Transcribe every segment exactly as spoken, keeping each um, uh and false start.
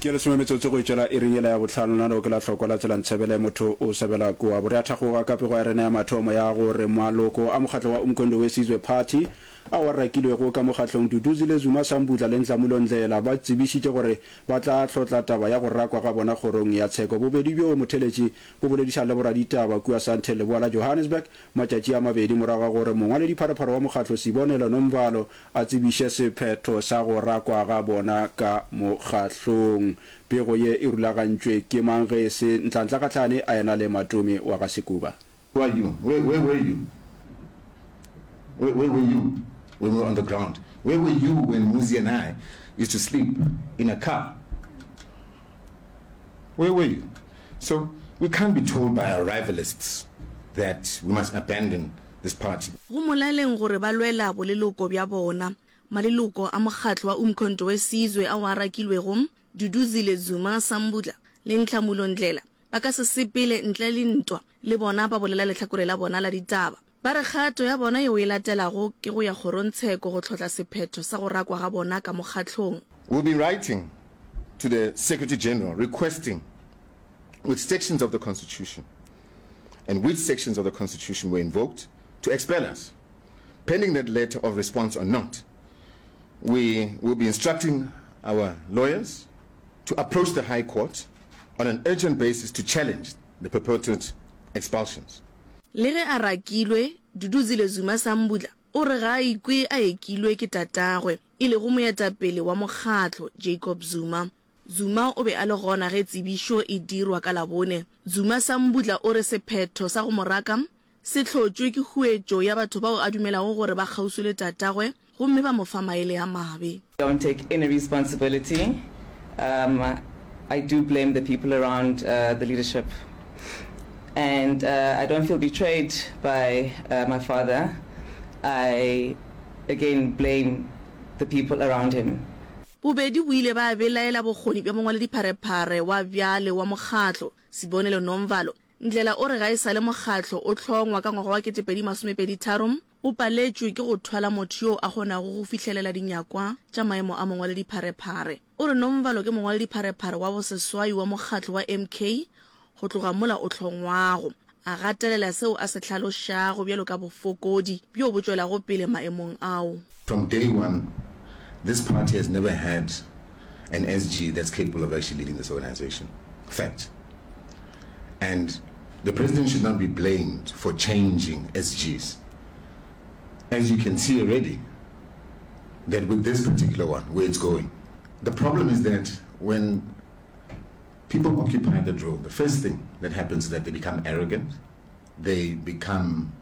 Ke lesome metsotso go itšwela iring yela ya bohlano. Nano ke la hlokwa la tsela ntshebele motho o sebela kua. Bo re a thakgoga ka pego ya rena ya mathomo ya gore maloko a mokgatlo wa Umkhonto we Sizwe Party ao a rakilwego ka mokgatlong Duduzile Zuma Sambudla le Nhlamulo Ndhlela ba tsebišitše gore ba tla hlotla taba ya go rakwa ga bona kgorong ya tsheko. Bobedi bjo motheletši bo boledišana le boraditaba kua Sandton leboa la Johannesburg matšatši a mabedi morago ga gore mongwaledipharephare wa mokgatlo Sibonelo Nomvalo a tsebiše sephetho sa go rakwa ga bona ka mokgahlong. Pego ye e rulagantšwe ke mang ge e se Ntlantla Kgahlane a ena le Matome wa ga Sekuba? Who are you? Where, where were you? Where, where were you when we were on the ground? Where were you when Muzi and I used to sleep in a car? Where were you? So we can't be told by our rivalists that we must abandon this party. Go molaleng gore ba lwela boleloko bja bona. Maleloko a mokgatlo wa Umkhonto we Sizwe ao a rakilwego, Duduzile Zuma Sambudla le Nhlamulo Ndhlela, ba ka se sepele ntle le ntwa, le bona ba bolela lehlakore la bona la ditaba. Ba re kgato ya bona yeo e latelago ke go ya kgorongtsheko go hlotla sephetho sa go rakwa ga bona ka mokgatlong. We'll be writing to the Secretary General requesting which sections of the Constitution and which sections of the Constitution were invoked to expel us. Pending that letter of response or not, we will be instructing our lawyers to approach the High Court on an urgent basis to challenge the purported expulsions. Le ge a rakilwe, Duduzile Zuma Sambudla o re ga a ikwe a ekilwe ke tatagwe, e lego moetapele wa mokgatlo, Jacob Zuma. Zuma o be a le gona ge tsebišo e dirwa ka Labone. Zuma Sambudla o re sephetho sa go mo raka se hlotšwe ke huetšo ya batho bao a dumelago gore ba kgauswi le tatagwe gomme ba mo fa maele a mabe. Don't take any responsibility um I do blame the people around uh, the leadership and uh, I don't feel betrayed by uh, my father I again blame the people around him. Bobedi bo ile ba belaela bokgoni bja mongwaledipharephare wa bjale wa mokgatlo, Sibonelo Nomvalo. Ndlela o re ga e sa le mokgatlo o hlongwa ka ngwaga wa ketepedi masomepedi tharo, o paletšwe ke go thwala motho yo a kgonago go fihlelela dinyakwa tša maemo a mongwaledipharephare. O re Nomvalo ke mongwaledipharephare wa boseswai wa mokgatlo wa M K go tloga mola o hlongwago, a gatelela seo a se hlalošago bjalo ka bofokodi bjo bo tšwelago pele maemong ao. From day one, this party has never had an S G that's capable of actually leading this organization. Fact. And the president should not be blamed for changing S Gs. As you can see already, that with this particular one, where it's going. The problem is that when people occupy that role, the first thing that happens is that they become arrogant, they become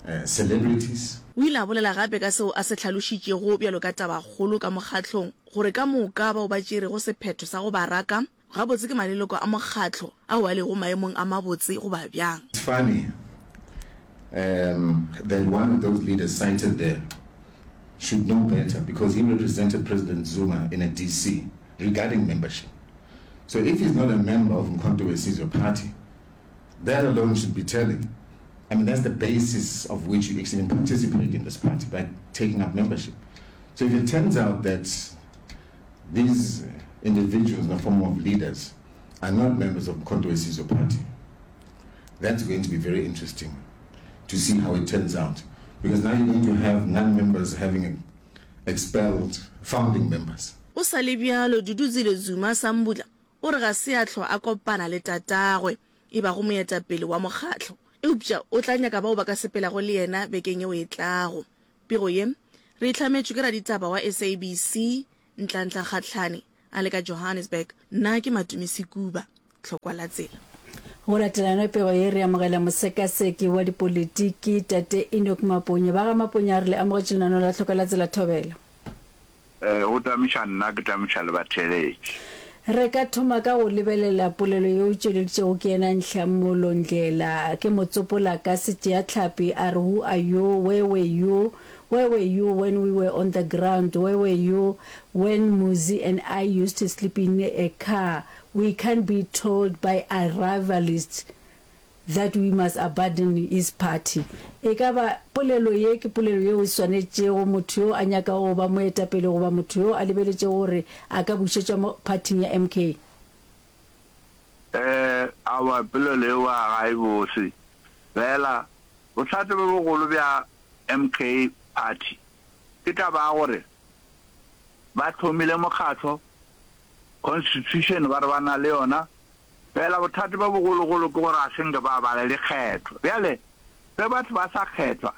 uh, celebrities. O ile a bolela gape ka seo a se hlalošitšego bjalo ka tabakgolo ka mokgatlong, gore ka moka bao ba tšerego sephetho sa go ba raka gabotse ke maleloko a mokgatlo ao a lego maemong a mabotse goba bjang. It's funny um, that one of those leaders cited there should know better because he represented President Zuma in a D C regarding membership. So if he's not a member of Umkhonto we Sizwe Party, that alone should be telling. I mean, that's the basis of which you actually participate in this party, by taking up membership. So if it turns out that these individuals in the form of leaders are not members of Umkhonto we Sizwe Party, that's going to be very interesting to see how it turns out. Because now you're going to have non-members having expelled founding members. Go sa le bjalo, Duduzile Zuma Sambudla o re ga se a hlwa a kopana le tatagwe e bago moetapele wa mokgatlo, eupša o tla nyaka bao ba ka sepelago le yena bekeng yeo e tlago. Pego ye re e hlametšwe ke raditaba wa S A B C Ntlantla Kgatlhane a le ka Johannesburg. Nna ke Matome Sekuba, Tlhokwa la Tsela. Go latelana pego ye re amogela mosekaseki wa dipolitiki tate Enoch Maponya. Ba ga Maponya, re le amogetše lenaneo la Tlhokwa la Tsela. Thobela. O tamiša nna, ke tamiša le batheeletši. Re ka thoma ka go lebelela polelo yeo e tšweleditšego ke yena Nhlamulo Ndhlela. Ke mo tsopola ka setšeahlapi a re, "Who are you? Where were you? Where were you when we were on the ground? Where were you when Muzi and I used to sleep in a car? We can't be told by a rivalist that we must abandon his party." E ka ba polelo ye ke polelo yeo e swanetšego motho yo a nyakago go ba moetapele goba motho yo a lebeletšego gore a ka bušetšwa mo phathing ya M K? Eh, aowa, polelo yeo ga e bose. Fela, bothata bjo bogolo bja M K Party ke taba ya gore ba hlomile mokgatlo, constitution ba re ba na le yona, fela bothata bjo bogologolo ke gore ga se nke ba ba le dikgetho. Bjale, ge batho ba sa kgethwa,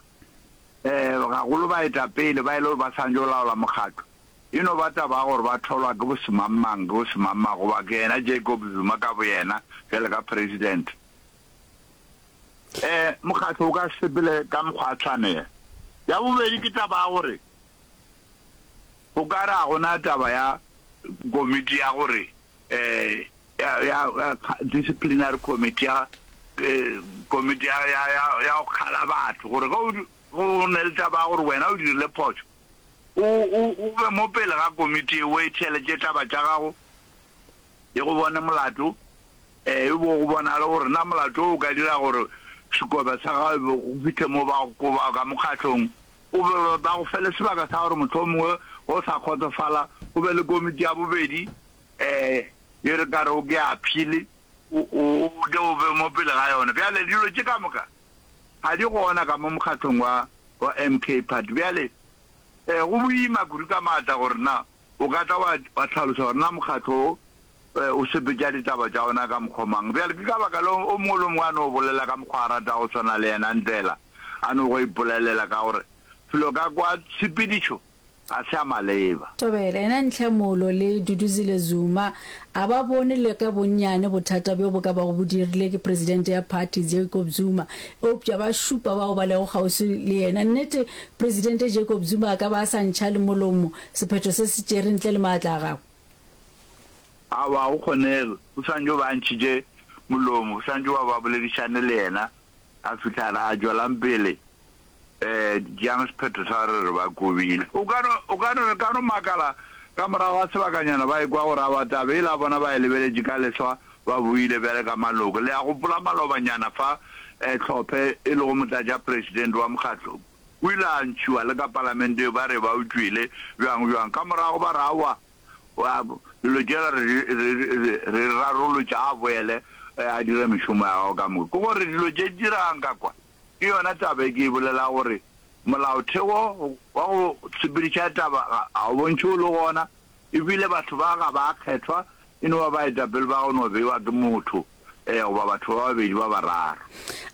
um gagolo baetapele ba e le gore ba swanetše go laola mokgatlo, e no ba taba ya gore ba tholwa ke bosemangmang, ke bosemangmang, goba ke yena Jacob Zuma ka boyena bjale ka president. Um mokgatlo o ka se sepele ka mokgwa wa tshwanelo. Ya bobedi ke taba ya gore go ka re ga go na taba ya komiti ya gore um ya, ya, ya disciplinary committee ya komiti ya, ya, ya, ya go kgala batho gore ge o, ge o ne le taba ya gore wena o dirile phošo, o, o, o be mo pele ga komiti ye o e theeletše taba tša gago, e go bone molato, e bo go bonale gore na molato wo o ka dira gore sekobe sa gago go fihle mo ba go koba ka mokgahlong, o be ba go fe le sebaka sa gore mohlomongwe ge o sa kgotsofala go be le komiti ya bobedi um ye re ka rego ke ya appeal, o, o, o tle o be mo pele ga yona. Bjale dilo tše ka moka ga di gona ka mo mokgahlong wa, wa M K Party. Bjale um go boima kudu ka maatla gore na o ka tla wa, wa hlalosa gore na mokgatlo wo o sepetša ditaba tša ona ka mokgwa mang. Bjale ke ka baka leo o mongwe le o mongwe a no bolela ka mokgwa a ratago go swana le yena Ndlela a no go ipolelela ka gore felo ka kwa tshepedišo ga se ya maleba. Thobela, yena Ntlhamolo le Duduzile Zuma a ba bone le ka bonnyane bothata bjo bo ka bago bo dirile ke presidente ya phathi Jacob Zuma, eupša ba šupa bao ba lego kgauswi le yena. Nnete, presidente Jacob Zuma a ka ba a sa ntšha le molomo sephetho se se tšere ntle le maatla a gagwe. Aowa, ga go kgonege. O swanetše o be a ntšhitše molomo. O swanetše ba ba boledišane le yena, a fihla a re, A tšwelang pele, um tšeang sephetho sa gore re ba kobile. O ka no, o ka no, re ka no makala ka morago ga sebakanyana ba ekwa gore aowa, taba yela bona ba e lebeletše ka leswa, ba boile bjale ka maloko. Le a gopola malobanyana fa, um Hlophe, e lego motlatšapresidente wa mokgatlo, o ile a ntšhiwa le ka palamenteng, ba re ba o tšwele, bjang, bjang. Ka morago ba re, Aowa, Dilo tšela re di rarolotše, a boele a dire mešomo ya gagwe ka moka. Ke gore dilo tše di diregang ka kwa, ke yona taba e ke e bolelago gore molaotheo wa go sepediša taba ga o bontšhe o le gona, ebile batho ba ga ba kgethwa, e no ba baetapele ba go no beiwa ke motho goba batho ba babedi ba bararo.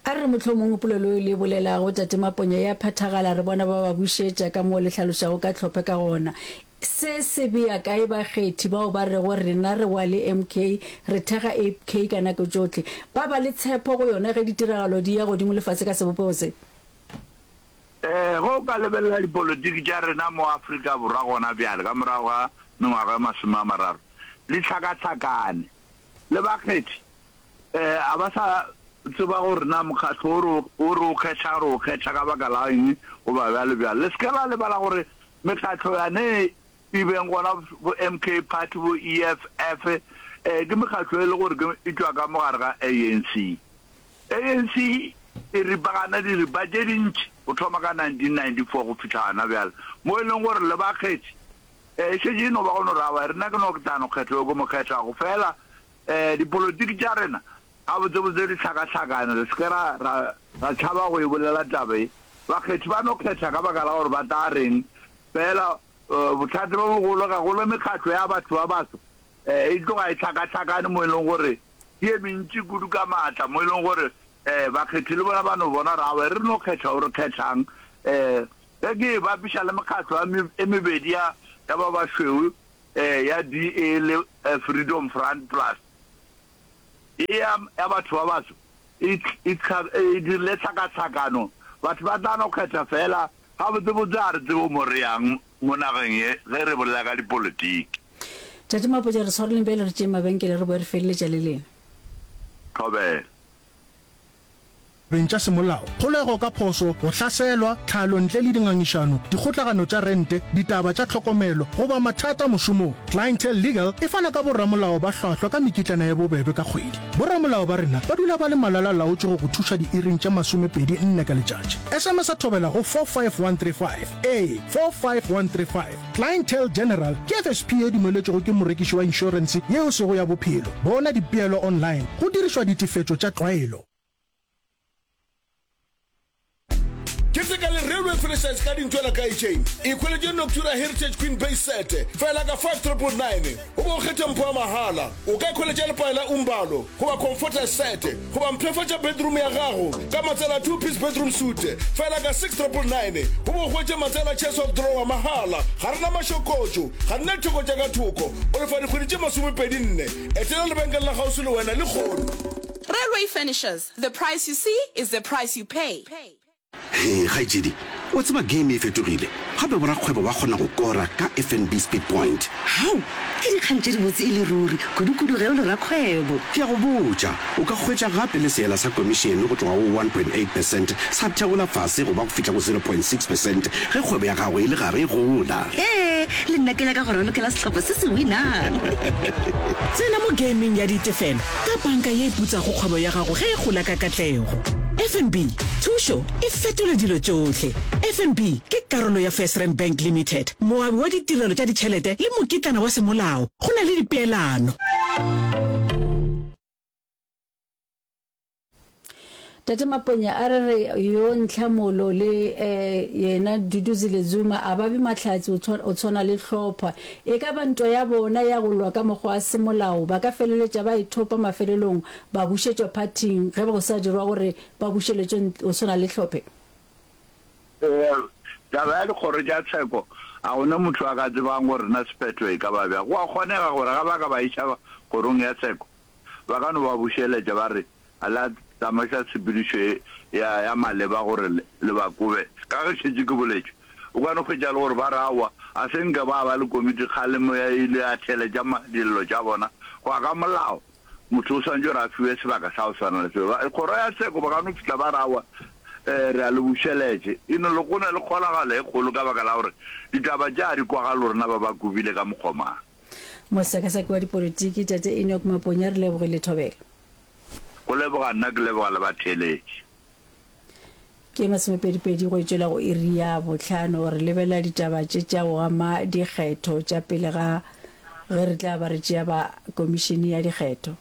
A re re mohlomongwe polelo yeo le e bolelago, Tate Maponya, e a phethagala, re bona ba ba bušetša ka moo le hlalošago ka hlophe ka gona. Se se bea kae bakgethi bao ba rego rena re wa le M K, re thekga A K ka nako tšohle? Ba ba le tshepo go yona ge ditiragalo di ya godimo le fase ka sebopego se? Ee, ge o ka lebelela dipolotiki tša rena mo Afrika Borwa gona bjale, ka morago ga mengwaga e masome a mararo, di hlakahlakane. Le bakgethi ga ba sa tseba gore na mokgatlo wo re wo re o kgethago re o kgetha ka baka la eng goba bjalo bjalo. Le se ke la lebala gore mekgatlo yane e beng gona bo M K Party, bo E F F, eh, ke mekgatlo e le gore ke e tšwa ka mo gare ga A N C. A N C e ripagana diripa tše dintši go thoma ka nineteen ninety-four go fihla gona bjale, mo e leng gore le bakgethi eh, e šetše e no ba go no re aowa, rena ke no ke tla no kgetha yo ke mo kgethago fela. um dipolotiki tša rena gabotsebotse di hlakahlakane, re se ke ra, ra, ra tšhaba go e bolela taba ye. Bakgethi ba no kgetha ka baka la gore ba tla reng fela. um bothata bjo bogolo gagolo mekgatlo ya batho ba baso um e tloga e hlakahlakane mo e leng gore ke ye mentši kudu ka maatla, mo e leng gore um bakgethi le bona ba no bona gore aowa, re no kgetha o re kgethang. um Ge ke e bapiša le mekgatlo e mebedi ya ya ba bašweu, um ya D A le Freedom Front Plus, e ya ya batho ba baso e e e dirile tlhakatlhakano. Batho ba tla no kgetha fela. Gabotsebotse ga re tsebe mo re yang mo nageng ye ge re bolela ka dipolitiki. Tate Mapotša, re swareleng bjale re tšee mabenkele re boe re feleletša le lena. Thobela. Ditabeng tša semolao, kgolego ka phošo, go hlaselwa, tlhalo ntle le dingangišano, dikgotlagano tša rente, ditaba tša tlhokomelo, goba mathata mošomong, Clientele Legal e fana ka boramolao ba hlwahlwa ka mekitlana ye bobebe ka kgwedi. Boramolao ba rena ba dula ba le malala-laotšwe go go thuša diiring tše masomepedi nne ka letšatši. S M S Thobela go four five one three five ee, four five one three five Clientele General ke F S P ye dumeletšwego ke morekiši wa inšorense ye e sego ya bophelo. Bona dipeelo online go dirišwa ditefetšo tša tlwaelo. Keteka le Railway Furnishers ka dintwela ka Ejane. Ikhweletše Noctura Heritage Queen Base Set fela ka five triple nine goba o kgethe mpho ya mahala. O ka ikhweletša lepae la Umbalo goba Comforter Set goba mpshafatša bedroom ya gago ka matsela a two piece bedroom suite fela ka six triple nine goba o hwetše matsela a chest of drawer mahala. Ga re na mašokotšo, ga re na ditheko tša ka thoko. O lefa dikgwedi tše masomepedi nne. Etela lebenkele la kgauswi le wena lehono. Railway Furnishers, the price you see is the price you pay. Hee kgaetšedi, wa tseba game e fetogile, gape borakgwebo ba kgona go kora ka F N B Speed Point. Hao! Ke dikgang tše dibotse e le ruri, kudu-kudu ge o le rakgwebo. Ke a go botša, o ka hwetša gape le seela sa komišene go tloga go one point eight percent sa theola fase go ba go fihla go zero point six percent ge kgwebo ya gago e le gare e gola. Hee, le nna ke nyaka go ralokela sehlopha se se winang. Tsena mo gameng ya ditefelo ka banka ye e putsago kgwebo ya gago ge e gola ka katlego. F N B, thušo e fetola dilo tšohle. F N B ke karolo ya FirstRand Bank Limited, moabi wa ditirelo tša ditšhelete le mokitlana wa semolao. Go na le dipeelano. Tate Maponya a re re yo Ntlhamolo le yena Duduzile Zuma a ba be mahlatse o tshwana le hlopha. E ka ba ntwa ya bona ya go lwa ka mokgwa wa semolao ba ka feleletša ba ithopa mafelelong ba bušetšwa phathing ge go sa dirwa gore ba bušeletšwe go tshwana le hlophe. Taba ya dikgoro tša tsheko, a go ne motho a ka tsebang gore na sephetho e ka ba bjang. Go a kgonega gore ga ba ka ba iša kgorong ya tsheko, ba ka no ba bušeletša ba re, A la tsamaiša tshepedišo ye ya, ya maleba gore le, le ba kobe. Ka ge šetše ke boletše, o ka no hwetša le gore ba re, Aowa, a se nke ba ba le komiti kgalemo ya ile ya theeletša ma, dillo tša bona. Go ya ka molao, motho o swanetše gore a fiwe sebaka sa go swana le seo. Ba, kgoro ya tsheko ba ka no fihla ba re, Aowa, eh, re a le bušeletše. E no le, go na le kgonagalo e kgolo ka baka la gore ditaba tše ga di kwagale gore na ba ba kobile ka mokgwa mang. Mosekaseki wa dipolitiki, Tate Enoch Maponya, re lebogile thobela. Go leboga nna, ke leboga le batheeletši. Ke masomepedipedi go e tšwela go iri ya bohlano. Re lebelela ditaba tše tša go ama dikgetho tša pele ga ge re tla ba re tšea ba komišene ya dikgetho.